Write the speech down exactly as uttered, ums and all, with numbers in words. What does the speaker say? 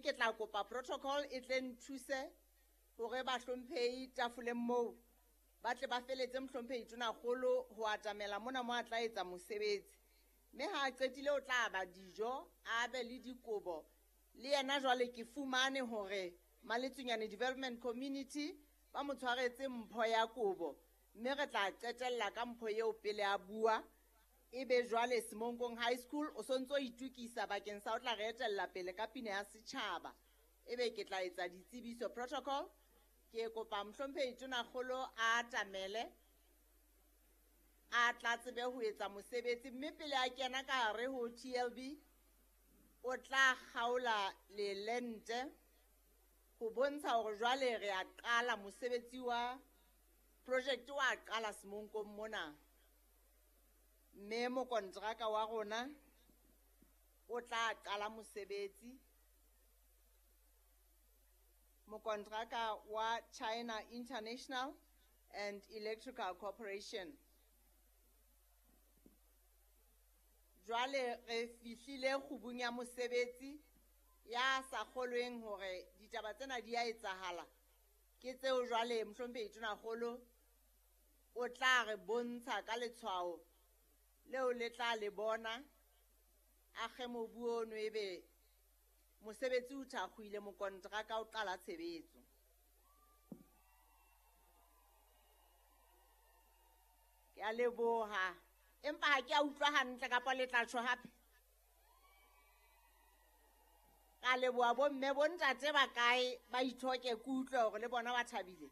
Mme ke tla kopa protocol e tle nthuse hore bahlomphehi tafoleng moo ba tle ba feletse mohlomphehi Tonakgolo ho atamela mona mo a tla etsa mosebetsi. Mme ha a qetile o tla aba dijo, a be le dikobo. Le yena jwale ke fumane hore Maletsunyane Development Community ba mo tshwaretse mpho ya kobo. Mme re tla qetella ka mpho eo pele a bua. Ebe jwale Semonkong High School o sontso itukisa bakeng sa o tla re etella pele ka pina ya setjhaba. Ebe ke tla etsa ditsebiso protocol. Ke kopa mohlomphehi Tonakgolo a atamele, a tla tsebe ho etsa mosebetsi. Mme pele a kena ka hare ho T L B, o tla kgaola lelente ho bontsha hore jwale re a qala mosebetsi wa project wa qala Semonkong mona. Mme mokonteraka wa rona o tla qala mosebetsi. Mokonteraka wa China International and Electrical Corporation. Jwale re fihlile kgubung ya mosebetsi ya sa kgolweng hore ditaba tsena di a etsahala. Ke tseo jwale mohlomphehi Tonakgolo o tla re bontsha ka letshwao leo le tla le bona. A kge mobu ono ebe mosebetsi o thakgohile, mokonteraka o qala tshebetso. Ke a leboha. Empa ha ke a utlwa hantle kapa le tla tjho hape. Ka leboha bomme, bontate ba kae ba ithoke ke utlwe hore le bona ba thabile.